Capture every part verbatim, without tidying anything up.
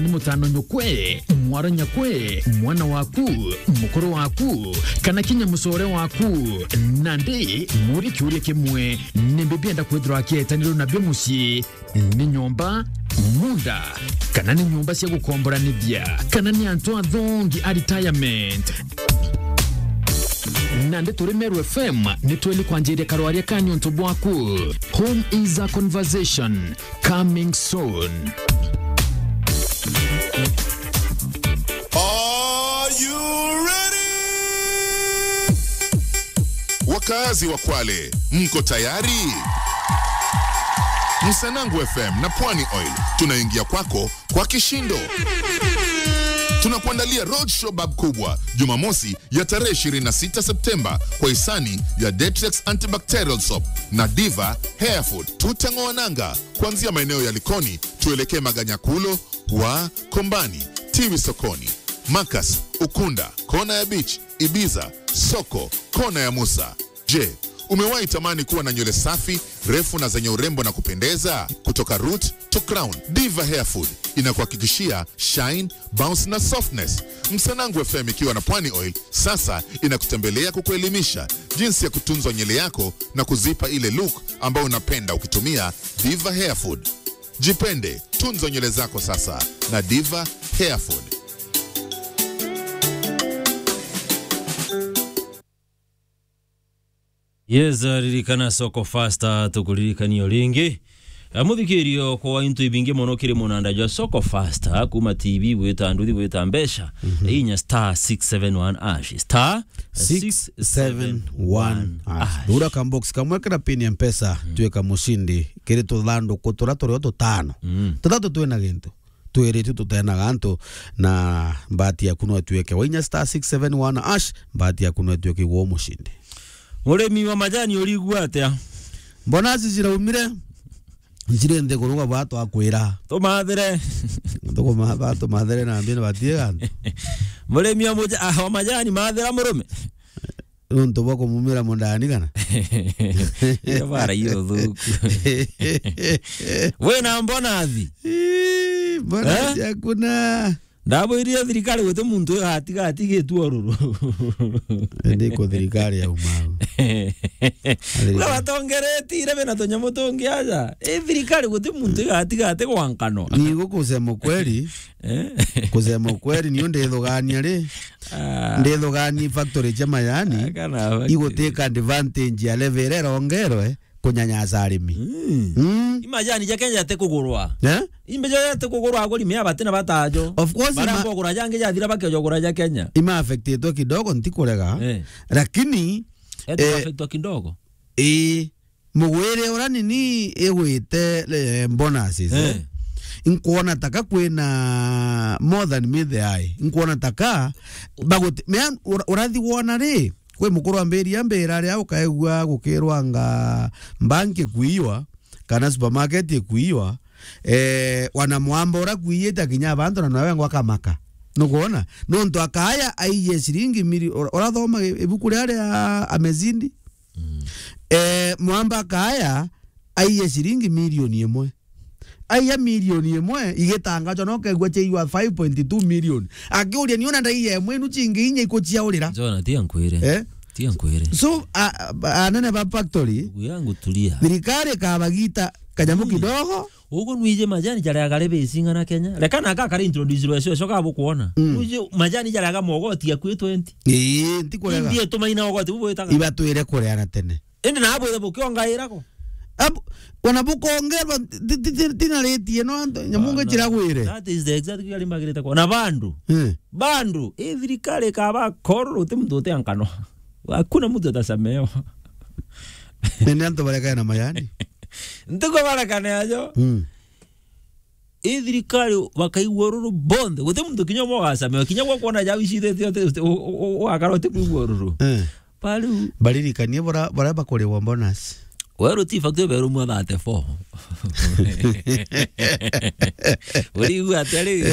Ni mutano nyukwe, mwara nyakwe, mwana waku, mukuru waku, kana kinya mucore waku. Nandi muri kiuria kimwe, ni mbi bienda kwithirwa akietanirwo nabio mucii? Ni nyomba, munda, kana ni nyomba cia gukomboranithia, kana ni antu athongi a retirement? Nandi turi Meru F M, ni tweli kwanjiria karwaria ka niuntu bwaku. Home is a conversation. Coming soon. Are you ready? Wakazi wa Kwale, mko tayari? Msanangu F M na Pwani Oil tunaingia kwako kwa kishindo. Tunakuandalia road show bab kubwa Jumamosi ya tarehe ishirini na sita Septemba kwa hisani ya Detrex Antibacterial Soap na Diva Hair Food. Tutang'oa nanga kuanzia maeneo ya Likoni, tuelekee Maganyakulo, wa Kombani, Tiwi Sokoni, Makas, Ukunda, kona ya Beach, Ibiza, Soko, kona ya Musa. Je, umewahi tamani kuwa na nywele safi, refu na zenye urembo na kupendeza? Kutoka root to crown, Diva Hair Food inakuhakikishia shine, bounce na softness. Msanangu F M ikiwa na Pwani Oil sasa inakutembelea kukuelimisha jinsi ya kutunza nywele yako na kuzipa ile look ambayo unapenda ukitumia Diva Hair Food. Jipende, tunza nywele zako sasa na Diva Hair Food. Yes, ririkana Soko Fasta, tukuririkania o ringi. Eh, muthikirio kwa into ibingi mono kiri munanda jwa Soko Fasta, kuma T V gwita nduthi gwita mbeca. Mhm. Inya star six seven one hash. Star six seven one hash. Hura kambox kamwe kira pin ya Mpesa, mm, tuika mushindi. Kiri tuthanduku turia turio tutano. Mm. Tuthatu twina gintu. Twiritu tutenaga antu, na mbati yaku no ituike wa inya star six seven one hash, mbati yaku no ituike igwo mushindi. Murimi wa majani urigua atia? Mbona aci ciraumire? Nciri nthi kuruga bwa twakwira. Tumathire. Tukumatha, tumathire na mbina batie gantu. Murimi wa muja-, ah, wa majani, mathira murume. Nontu bwa kumumira mundani kana? Iyo bara iyo thuku. Wina mbonathi? Ii, mbonathi, eh? Hakuna. Ndabwirie thirikari guti muntu igatiga atigitu oruru. Ndi ku thirikari ya umau. Thirikari. Uga batongeretire bena tunyamu tungi aja. I thirikari guti muntu igatiga ati gwankano. Ni gukusema ukweli. Eh? Kusema ukweli, niyo ndithugania ri. Ah. Ndithugania factory cia majani, ah, kana factory, iguteka advantage ya level iria irongerwe kunyanyasa arimi. Mm. Mm. I majani ja Kenya jate kugurwa. Eh? Imbe jo jate kugurwa aguri mea batina batajo. Of course, bara ima- kugura jangi jathira bakejo gura ja Kenya. Ima affectitwe kidogo, ntikurega. Eh. Lakini, eh, affectitwe kidogo. Ii. Mugwire uria nini igwite, eh, bonuses, eh? Eh. Inkwona taka kwina more than me the eye. Inkwona taka baguti-, mea ura-, urathi wona ri, kwi mukuru ambiria mbira ria ukaigua gukirwa nga bank ikuiwa, kana supermarket ikuiwa, eh, wana mwamba ura kuiyite akinya abantu na nawe ngwa kamaka. Nukwona? Nontu akaya aiye ciringi miri-, ura-, urathoma i-, ibuku ria ria Amezindi? Mm. Eh, mwamba akaya aiya ciringi milioni imwe. Aiya milioni imwe igitangacwa, no kegua ciaigua five point two million. Akiuria, "Ni ona ndaiya imwe inu cingi inya ikuciaurira?" Jona, tia nkwire. Eh? Tia nkwire. So, a, a, anene ba factory, ndugu yangu, tulia. Thirikari ikabagita kanyamu, mm, kidogo. Ugu nwije majani jaria gari bising'ana Kenya. Reka na aka kari introduce rwesho, shoka bukwona. Mm. Nwije majani jaria ga mogoti akwi twenty. Ii, ntikurega. Indi tumaina ogoti bubwitaga. Ibatwire kureana tene. Indi na abwire bukiongaira ko. Ab-, ona bukongerwa, ti-, ti-, ti-, tinaritie no antu, nyamunge, bana, ciragwire. That is the exact thing arimagirite ko. Na bandu. Eh. Bandu, i thirikari ikaba kororo, uti muntu uti ankano. Hakuna mtu atasamehewa. Nene antu barekana na majani. Ntuko barekana ajo. Mm. I thirikari bakaigua ururu bonthe. Guti muntu kinya umwe ugasamewa. Kinya gwa kwona jau icithitie uti-, uti-, u-, u-, u-, ugakara uti kuigua ururu. Eh. Bariu. Baririkanie bora, bora bakurigwa bonus. Weru ti factory beru mwa thirty-four. Urigua atia riu?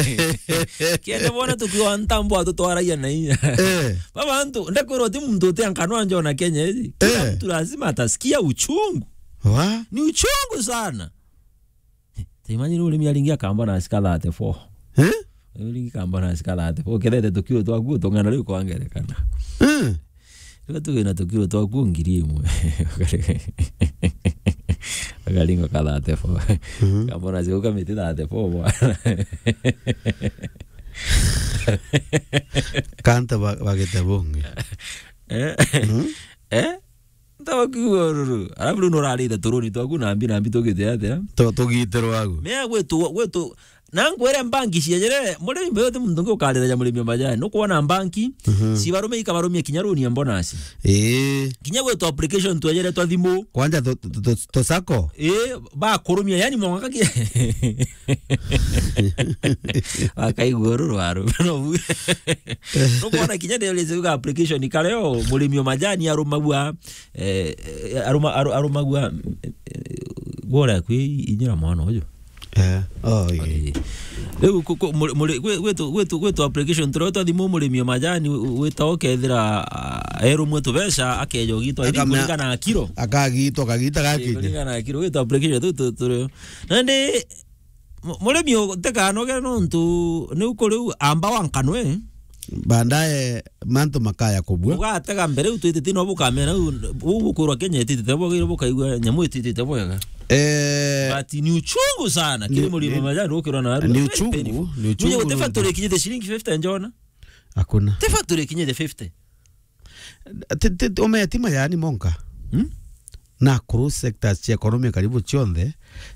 Kende bona tukiwa ntambo atutwaragia na inya. Eh. Baba antu, ndakwirwa ti muntu uti ankano anja ona Kenya iji. Kila, eh, mtu lazima atasikia uchungu. Wa? Ni uchungu sana. Ta imagine urimi aringi akamba na asika thirty-four. Eh? Ringi kambonasi ka thirty-four. Ukethete tukiro twaku utung'ana riu kwa ngerekana. Eh? Riu tuge na tukiro twaku ngiri imwe. Ukaringa ka thirty-four. Mhm. Kambonasi kau ka miti thirty-four bwana. Kanta ba-, bagite bungi. Eh? Mhm. Eh? Ntawa kiuga ururu. Alafu riu nurarite turuni twaku na mbi na mbi tugite atia? Tu-, tugitirwa agu. Mea gwitu, gwitu, na nkwire mbanki ciejere, murimi mbeyo ti muntu ungi ukarira ja murimi o majani. Nukwona mbanki, mhm, cibarume ikabarumia kinya runi ya bonus. Ii. Kinya gwitu application twejere twa thimu. Kwanja tu, tu, tu, tu sako? Ii, bakurumia, yani mwanka ki-, akaigua ururu aru. No bu-, nukwona kinya ndio lezi uga application kareo, murimi o majani arumagua, eh, eh, aruma-, aru-, arumagua, eh, eh, gwora kwi inyira mwana uju. Eh, oh, ii. Ii. Riu ku-, ku-, muri-, muri-, gwi-, gwitu, gwitu, gwitu application turia twa thimu murimi o majani wi-, wita ukethira, ah, erumwe tubeca akeja ugitwa iri. Akamea-, kuringana na kiro. Akagitwa, akagita. Ii, gakinye. Kuringana na kiro, gwitu application tu, tu, turio. Nandi Mu-, murimi u-, ntikanoge nontu niu kuriu amba wankanwe. Baadaye mantu makaya kubua. Ugatega mbere u twitite no bukamera u, u bukwirwa Kenya ititite bwagire bukaigua nyamu ititite bwega. Eh, but ni uchungu sana. Kiri ni, murimi ni, majani ukirwa na ni very uchungu, painful. Ni uchungu. Mwenye gute factory ikinyite shilingi fifty njona? Hakuna. Te factory ikinyite fifty. Ti, ti, ti, umetima yani monka. Hmm? Na cross sectors cia economy karibu cionthe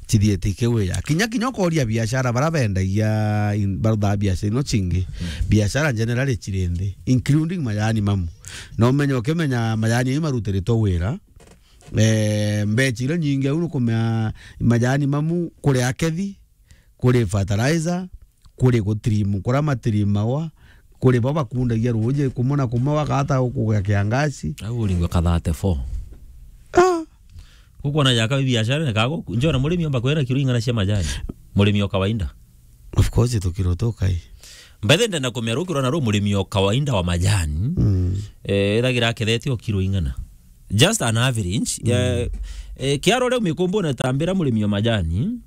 cithiete ikiwia. Kinya, kinya ukoria biashara bara bendagia in-, baruthaa biashara ino cingi. Hmm. Biashara generally ciri nthi, including majani mamu. Na umenye ukimenya majani ii marutiritwe wira. Eh, mbeca iria nyingi au nukumea majani mamu kuri akethi, kuri fertilizer, kuri gutirimu, kuria matirimawa, kuri bo bakundagia ruuji, kumwe na kumwe bakata gukugia kiangaci. Au uringwa ka thirty-four. Ah. Gukwona jaka biashara ni kago, njona murimi omba kwera kiro ing'ana cia majani. Murimi o kawaida. Of course, tukiro tukai. Mbethe ndenda kumea rukiro na ru murimi o kawaida wa majani. Mm. Eh, ethagira akethete o kiro ing'ana. Just an average. Mm. Eh, eh, kiaro riu mikumbune tambira murimi o majani.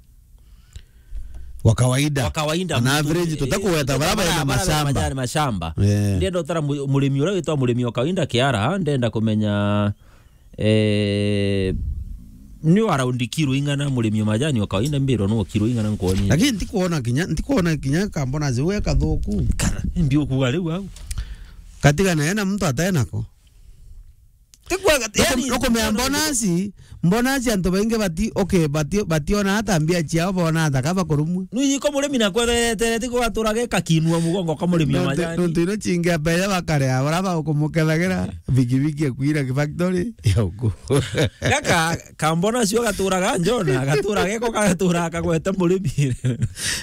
Wa kawaida. Wa kawaida on mtu, average, eh, tutakugweta bara bara bena bara mashamba. Majani mashamba. Yeah. Ndenda utara mu-, murimi uria witwa murimi wa kawaida kiara, ndenda kumenya, eh, ni around kiro ing'ana murimi wa majani wa kawaida mbiro no kiro ing'ana nkwoni. Lakini ntikuona kinya, ntikuona kinya kambona ziwe kathuku. Kana, ndi ukuga riu au. Katigana ena mtu ataenako. Tikwega, nuku-, yani, nukumea mbonasi, mbonasi antu baingi bati-, okay, bati-, bationa ata mbia ciao, bona ata kaba kurumwa. Nuyiko murimi na kwetheretere, tigo gatura geka kinua mugongo ka murimi wa majani. Nontu ino cingi abeya bakarea, bara ba ukumukethagira, bigibigi ekwira ki factory, ya uku. Gaka, kambona cio gaturaga njona, gatura geko gatura kagwete murimi.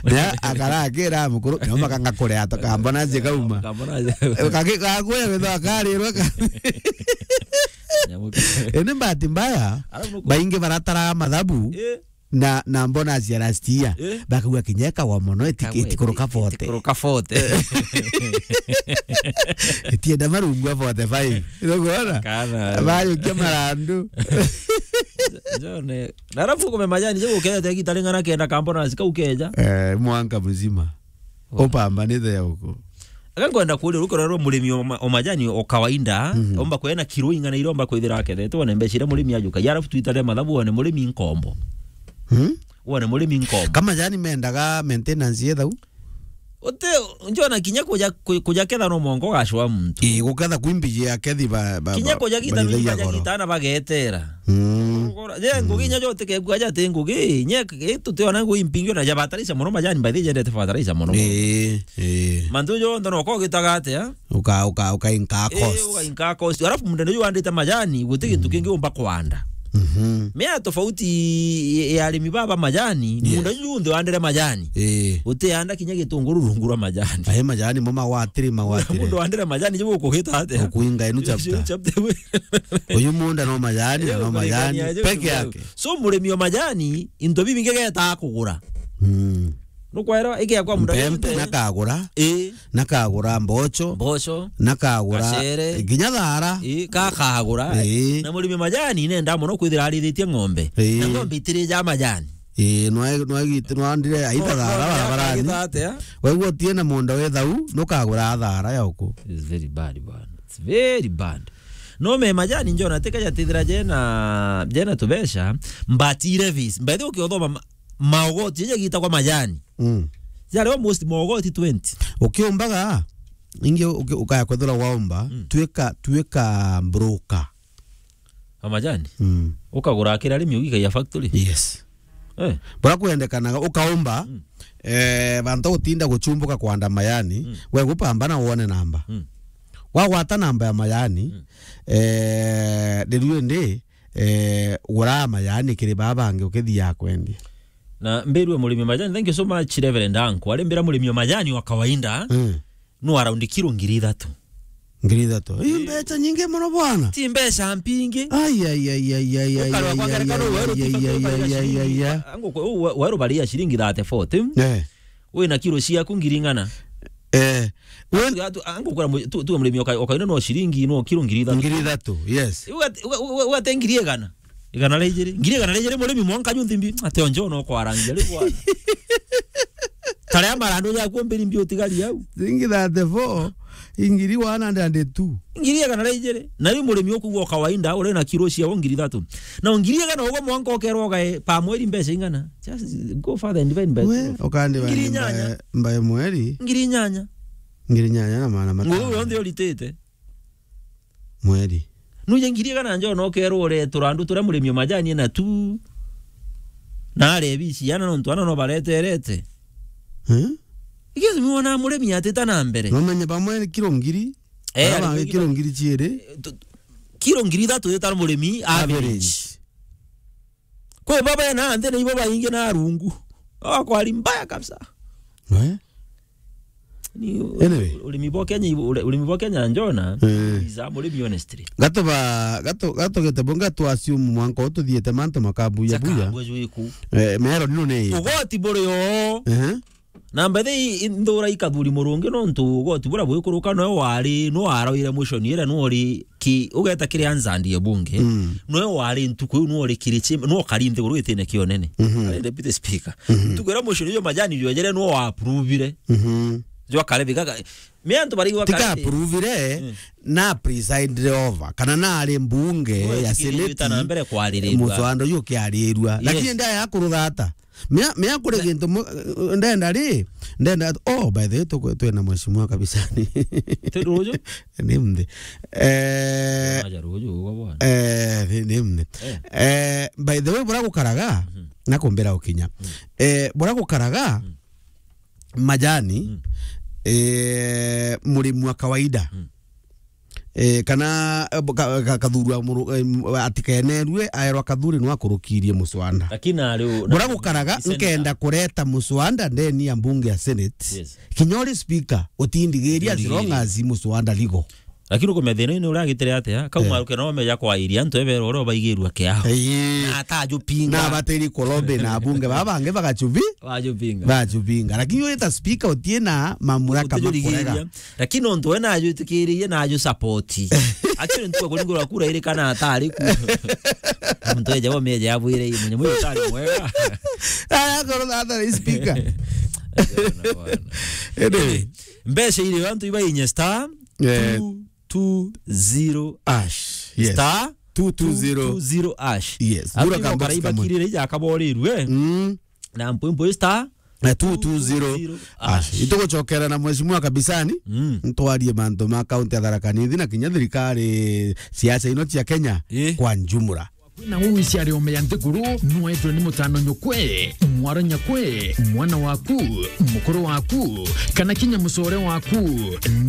Na akara akira mukuru, nyoma kanga kuria to kambona cio kauma. Kambona cio. Kagi-, gakuya witho akarirwa ka-, Nyamu ke- indi bahati mbaya, alafu nuku- baingi barataraga mathabu, eh, na, na bonus ya last year. Eh. Bakauga kinya ikawa mono, iti-, kagwe, itikuruka iti-, forty. Itikuruka forty. Itienda marungu a forty-five. Ndio kuona? Kana. Bayukia marandu. Jone. Na alafu kume majani, je ukete gitari ng'ana kenda kambona zika ukeja. Eh, mwanka mzima. Wa. Upambanite ya uko. Aka nkwenda kuuria, rukiro rwa murimi o ma-, o majani o kawaida, mhm, omba kwena kiro ing'ana iria omba kwithira akethete, wone mbeca iria murimi ajukagia, alafu twitare mathabu, wone murimi nkombo. Hmm? Wone murimi nkombo. Ka majani mendaga maintenance yethau? Uti, njona kinya kuja, ku-, kuja ketha no mwanka ugacwa muntu. Ii, guketha kwi mbiji ya kethi ba, ba, kinya ba, kuja gita baithagia nungi baja goro. Gita na bagetera. Mm. Ugora, je, ngugi, mm, inya jo utikegua aja ati ngugi, nye, i tutiona ngugi mpingi ona ja fertilizer mono, majani by the way jendete fertilizer mono. Ii, ii. Mantu jonthe no ko gitaga atia? Uka, uka, uka inka cost. Ii, uka inka cost. Alafu munda ndio wandite majani, guti gintu, mm, kingi umba kwanda. Mhm. Mea tofauti ya arimi baba majani, yes, munda junthe wandire majani. Ii. Utianda kinya gitunguru rungu rwa majani. Aye majani mo magwatiri, magwatiri. Mundu wandire majani, je gukugita atia? Ukuinga inu chapter. Chapter we. Uyu munda no majani, na no majani peke yake. So murimi wa majani, into bibingi geta kugura. Mm. Nukwera, igia kwa munda. Mpempe junthe. Nakagura. Ii. Nakagura mboco. Mboco. Nakagura. Gacere. Nginya thara. Ii, kakagura. Ii. Na murimi wa majani, nenda mono kwithira arithitie ng'ombe. Ii. Na ng'ombe itiri ja majani. Ii, nwa-, nwagite-, nwandire aita thara barabarani. Agita atia? Waigua utie na munda wi thau, nukagura thara ya uku. It's very bad, bwana. It's very bad. No me majani njona teka jatithira jena, jena tubeca, but i levies. By the way, ukiothoma ma-, maogoti, jeje gitagwa majani. Mm. Jari almost maogoti twenty. Ukiumbaga, ingi uki-, ukaya kwethira waumba, Mm. twika, twika broker. A majani? Mm. Ukagura kira arimi ugikagia factory? Yes. Eh. Bura kwendekanaga ukaumba, Mm. eh, bantu gutinda guchumbuka kwanda majani, Mm. we gupambana wone namba. Mm. Wagwata namba ya majani, Mm. eh, riu indi, eh, gura majani kiri baba bangi ukithia kwendia. Na mbirue murimi wa majani, thank you so much, Reverend Anko. Ari mbira murimi wa majani wa kawaida, Mm. no around kiro ngiri ithatu. Ngiri ithatu. Ii, Ii. mbeca nyingi muno bwana. Ti mbeca mpingi. Ai, ai, ai, ai, ai, ai, Ukarwa ai, kwa ai, ngerekano, ai, weru ai, ai, ai, ai, ai, ai, ai, ai, ai, ai. Angu kwe-, u-, we-, weru baria ciringi thirty, forty. Eh. Wina kiro ciaku ngiri ng'ana. Eh. Wen- Tu-, tu-, angu kura mu-, tu-, tu murimi oka-, okaina no ciringi, no kiro ngiri ithatu. Ngiri ithatu, yes. Ugate, uga-, uga-, ugate ngiri igana. Igana ria ijiri. Ngiri igana ria ijiri murimi mwanka nyu nthimbi. Ati onjo no kwarangia ri bwana. Taria marandu jaku mbiri mbi utigari au. Ciringi thirty-four, ingiri one hundred and two. Ngiri igana ria ijiri. Na riu murimi ukugwa kawaida, uri na kiro cia ngiri ithatu. Na ngiri igana ugo mwanka ukerwa ugae pa mweri mbeca ing'ana. Just go further and divide by We, twelve. Ukandi Ngiri inyanya. Mbae, mbae mweri. Ngiri inyanya. Ngiri inyanya na maana matano. Nguru yonthe uritite. Mweri. Nuje ngiri igana njo no kerwo ure turandu turia murimi o majani na tu. Na are bici ana nontu ana no bareterete. Eh? Ikezi mwana murimi atita na mbere. No menye bamwe ni kiro ngiri. Eh, Bara ari bangi kiro ngiri ciiri. Eh, tu-, kiro ngiri ithatu yeta murimi average. Average. Kwi baba na nthi ni ibo baingi na rungu. Akwari mbaya kabisa. We? Ni u-, Anyway. Urimi bwa Kenya, ure-, urimi bwa Kenya njona, Eh. is a murimi honestly. Gatuba, gatu-, gatugete bunga twa assume mwanka ututhiete mantu makabuya buya. Chakabwe jwiku. Eh, mero nino ni. Ugoti buri o. Ehe. Na mbere i-, i-, nthura ikathuri murungi nontu ugoti bura bwikuruka no wari, no aroire motion ira no ri ki, ugeta kiri anzandi ya bunge. Mm. No wari ntuku iu no ri kiri chi, no kari nthiguru itine kionene. Mhm. Ari deputy speaker. Mhm. Ntuku ira motion iyo majani jwejere no wa approve-ire. Mhm. Jwa kare bigaga, me antu barigwa Tika kare. Approve-ire, Mm. na preside over. Kana na ari mbunge No ya etikirire Senate. Na mbere kwaririrwa. Muswanda uyu ukiarirwa. Yes. Lakini ndaya kuruthata. Mea, mea kuri gintu mu-, ndenda ri, ndenda, oh, by the way, tuku-, twina mheshimiwa kabisa ni. Ti ruju? Ni mthi. Eh, Aja ruju ugo bwana. Eh, ni, ni mthi. Eh. Eh, by the way, bura gukaraga, Mhm. na kumbira ukinya. Mm. Eh, bura gukaraga, Mm. majani, Mm. eh, murimi wa kawaida. Mm. Eh, kana, eh, ka-, ka-, kathurwa muru-, eh, m-, atikenerue, aerwa kathuri no akurukirie muswanda. Lakini ari u-, Bura na-, gukaraga, Senate. Nkenda kureta muswanda ndeni ya mbunge ya Senate. Yes. Kinya uri speaker, utindigiria as long Utindigiria. As muswanda ligo. Lakini ukumenya thina ni uragitire atia? Kau Eh. maruke no meja kwa iria antu ebero oro baigirua kiao. Eh. Na atajupinga. Na batiri kulobe na bunge baba bangi bagachubi. Wajupinga. Bajupinga. Lakini uyu ta speaker utie na mamlaka makurega. Utijurigiria. Lakini nontu we najwitikiririe na aju support. Actually, ntuku kuringurwa kura iri kana atari ku. Muntu eja bo meja abwire ii, munye muyo utari mwega. Aya, korwo thata ni speaker. Bwana, bwana. Ende. Mbeca iri antu iba inye star Eh. two two zero hash. Yes. Star two two zero. Two two zero hash. Yes. Antu Bura ibo kambasi kamwe. Karaiba kirire ija akaborirwe. Mm. Na mpwempwe star Na two two zero. Two two zero. Ash. Ash. Itugucokera na mheshimiwa kabisani. Mm. Ntwarie mantu ma kaunti ya Tharaka Nithi na kinya thirikari siasa ino cia Kenya Eh. kwa njumura. Kwina uu iciari ome ya nthiguru, nwetwe ni mutano nyukwe, mwara nyakwe, mwana waku, mukuru waku, kana kinya mucore waku.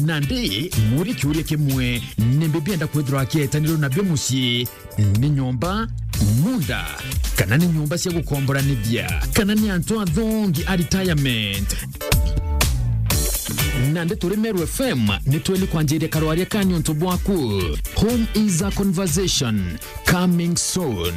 Nandi, muri kiuria kimwe, ni mbi bienda kwithirwa akietanirwe nabio mucii? Ni nyomba, munda, kana ni nyomba cia gukomboranithia, kana ni antu athongi a retirement? Nandi turi Meru F M, ni tweli kwanjiria karwaria ka niuntu bwaku. Home is a conversation. Coming soon.